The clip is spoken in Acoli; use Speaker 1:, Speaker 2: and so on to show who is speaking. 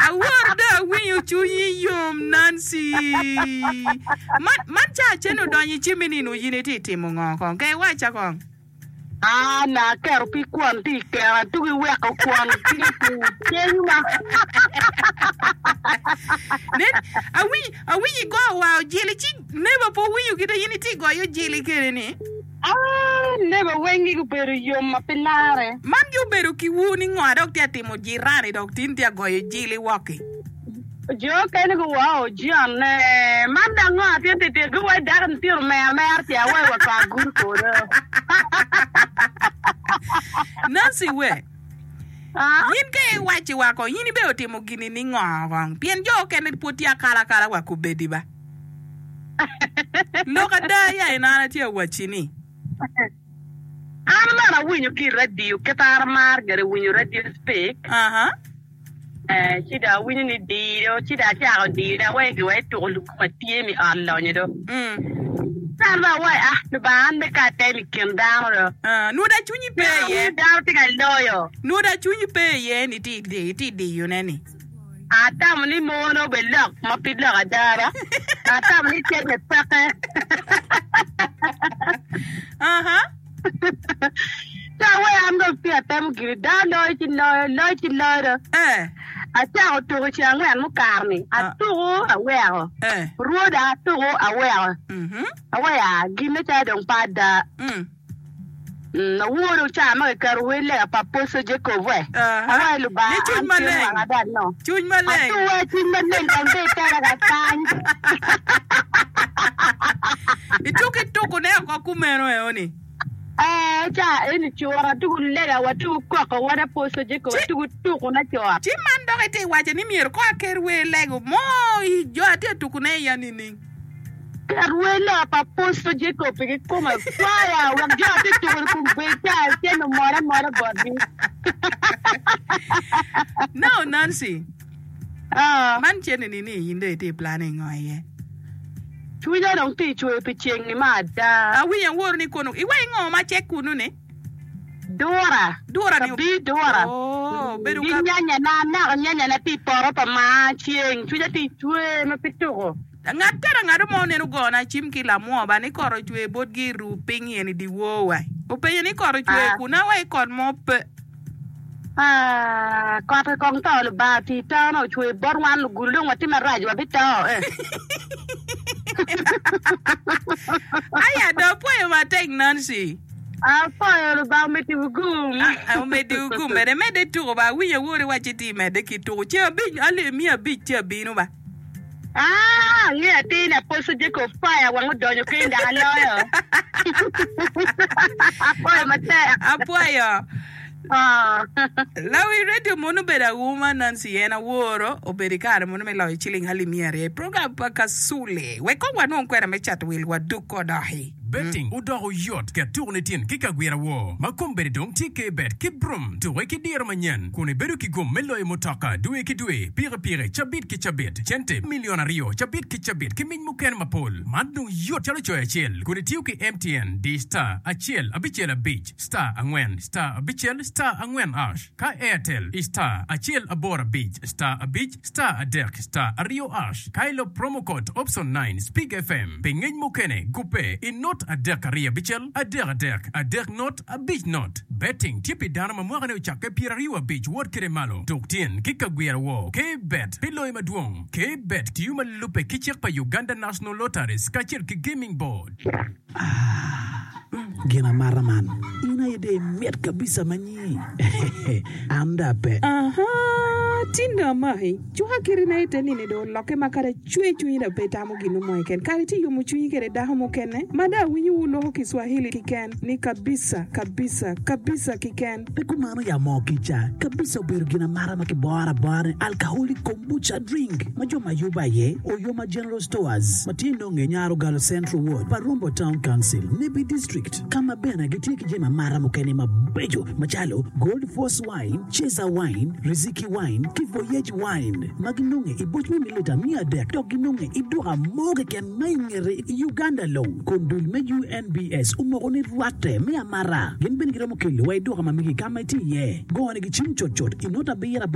Speaker 1: Awor dong awinyo cwinyi yom Nancy. Man, man ca cen odonyo i cimmi ni nongo in itye timo ngo kong? Ke iwacca kong.
Speaker 2: An aketo pig kwon tye i keno atugi weko kwon tye i cingma.
Speaker 1: Nen, awinyo, awinyo igoyo wa ojili ci neba pe owinyo kite in itye goyo ojili kede ni.
Speaker 2: Ah, neba weng gi gubedo yom ma pe lare.
Speaker 1: Man gi obedo ki wu ni ngo adok tye atimo jirani dok tin tye agoyo jili woki.
Speaker 2: Jo okene guwao John ne, man dok ngo atin titit guwaci dako ni tye omer mer ce awayi wa kor agudo kodo.
Speaker 1: Nancy we, in ka iwaci wa kong in ibe otimo gini ni ngo kong pien jo okene pwod tye akala akala wa kubedi ba. Lok ada ya en an atye awaci ni.
Speaker 2: An bene awinyo ki i radio kit an amaro gire winyo radio speak.
Speaker 1: Aha.
Speaker 2: Eh, ci dong awinyo ni dido, ci dong acako diyone awaco giwa ituko lukuma tye mi ot lonyo do.
Speaker 1: Mm.
Speaker 2: Ci an bene awaco, ah, Lubanga an bene ka atemo i kin dano do.
Speaker 1: Ah, nwoda cwinyi pe
Speaker 2: Pien
Speaker 1: iye.
Speaker 2: awinyo dano tye ka loyo.
Speaker 1: Nwoda cwinyi pe iye ni itye i itye diyone ni.
Speaker 2: Atamo ni mono obedo lok ma pe lok ada ba. Atamo ni cente peke.
Speaker 1: Aha.
Speaker 2: Ca aweyo an dong tye atemo giri dano loyo ci loyo, loyo ci loyo do.
Speaker 1: Eh.
Speaker 2: Acako tuko i ceng angwen mukato-ni, atuko aweko.
Speaker 1: Eh.
Speaker 2: Rwoda atuko aweko.
Speaker 1: Mhm.
Speaker 2: Aweyo aa, ginne calo dong pe ada.
Speaker 1: Mm.
Speaker 2: Mm, awor dong ca ma kiketo wer lega pa Apostle Jacob we.
Speaker 1: Aha.
Speaker 2: Awaco Lubanga,
Speaker 1: Ni cwiny
Speaker 2: an tye
Speaker 1: maleng.
Speaker 2: wanga dong no.
Speaker 1: Cwiny maleng.
Speaker 2: Atuwe cwiny maleng kong dong itera ka kany.
Speaker 1: Ituko itukone oko kumeno eoni.
Speaker 2: Ee, ca eni cura tuku lega wa tuku koko wod Apostle Jacob
Speaker 1: Ci-
Speaker 2: tuku tuku na cot.
Speaker 1: Ci man dok itye iwaco ni myero ko aker wer lego mo i jo atye tukune iya nining?
Speaker 2: Ket wer lega pa Apostle Jacob pi kikome fire wek jo atye tuku i kom bed ca cen omol amola botgi.
Speaker 1: Now Nancy,
Speaker 2: Ah.
Speaker 1: man cene ni ni in dong itye i planning ngo iye?
Speaker 2: Cwinya dong tye cwer pi ceng-ni ma ada.
Speaker 1: Awinyo aworo ni kono iwaci ngo ma cek kunnu ni?
Speaker 2: Dura.
Speaker 1: Dura ni.
Speaker 2: Kabir dura.
Speaker 1: Oh, bedo
Speaker 2: Ki
Speaker 1: ka.
Speaker 2: nyanyana, anako nyanyana tye i poto pa maa ceng. Cwinya tye cwer ma pe tuko.
Speaker 1: Ngat kara ngat mo oneno ogona cim ki lamwo ba ni kot ocwer botgi i ruu piny eni dyewor wa. Openyo ni kot ocwer
Speaker 2: Ah.
Speaker 1: kun awa i kot mo pe.
Speaker 2: Ah, kot kong to Lubanga oti tone ocwer bot wan lugulu dong watye marac wabito eh.
Speaker 1: Aya do apwoyo matek Nancy.
Speaker 2: Apwoyo Lubanga omeddi gum.
Speaker 1: Ah, omeddi gum bene medde tuko ba awinyo awori wacci ti medde ki tuko ceng abic alip miya abic ci abino ba.
Speaker 2: Ah, angeyo atir ni Apostle Jacob fire wang odonyo keny dok aloyo. Apwoyo matek.
Speaker 1: Apwoyo.
Speaker 2: Ah.
Speaker 1: Lawi radio mono obedo auma Nancy en aworo obedo i kare mono me loyo ciling alip miya aryo i program pa Kasule. Wek kong wanwong kwena me cato wil waduk odoki.
Speaker 3: Betting odoko yot ket tuko ni tin ki kagwira woo ma kombeddi dong tye K-bet ki Brum. Tuke ki diro manyen kun ibedo ki gum me loyo mutoka dwe ki dwe, pikipiki cabit ki cabit, cente milion aryo cabit ki cabit ki mic mukene mapol. Man dong yot calo coyo acel kun itiyo ki MTN di star acel abicel abic star angwen star abicel star angwen ash ka Airtel i star acel aboro abic star abic Star adek star aryo ash ka ilub promo code option nine Speak FM pi ngec mukene gubbe i not adek aryo abicel adek adek adek not abic not. Betting tye pi dano ma mwakane ocakke pyeraryo abic wot kede malo. Tuk tyen ki kagwira woo K bet pi loyo madwong. K bet tiyo ma lubbe ki cik pa Uganda National Lotteries kacel ki Gaming Board.
Speaker 4: Ah, gin amata man. In aye dong imit kabisa ma nyi. An dong ape.
Speaker 1: Aha, tin dong amaki. Cuka kirina ite nini dong olokke ma kadi acwe cwinyi dong pe itamo gin mo keken. Kare itye yomo cwinyi kede dako mukene ma dong awinyo wu loko Kiswahili kiken ni kabisa, kabisa, kabisa kiken.
Speaker 4: Pe kumano ya moo kica kabisa obedo gin amata ma kiboro abora ni alcoholic kombucha drink ma jo ma yubo aye Oyoma General Stores ma tye nonge Nyarogalo Central Ward, Parumbo Town Council, Nebbi District ka ma bene gitye ki jami amata mukene mabeco macalo Gold Force Wine, Cesar Wine, Riziki Wine ki Voyage Wine ma ginonge i boc me mililita 300 dok ginonge i duka mo keken ma i ngete i Uganda long kun dul me UNBS omoko ni rwatte me amata. Gin bene giromo kelo wa i duka ma megi ka ma itye iye. Go nigi cim cutcut i not abiro abiro.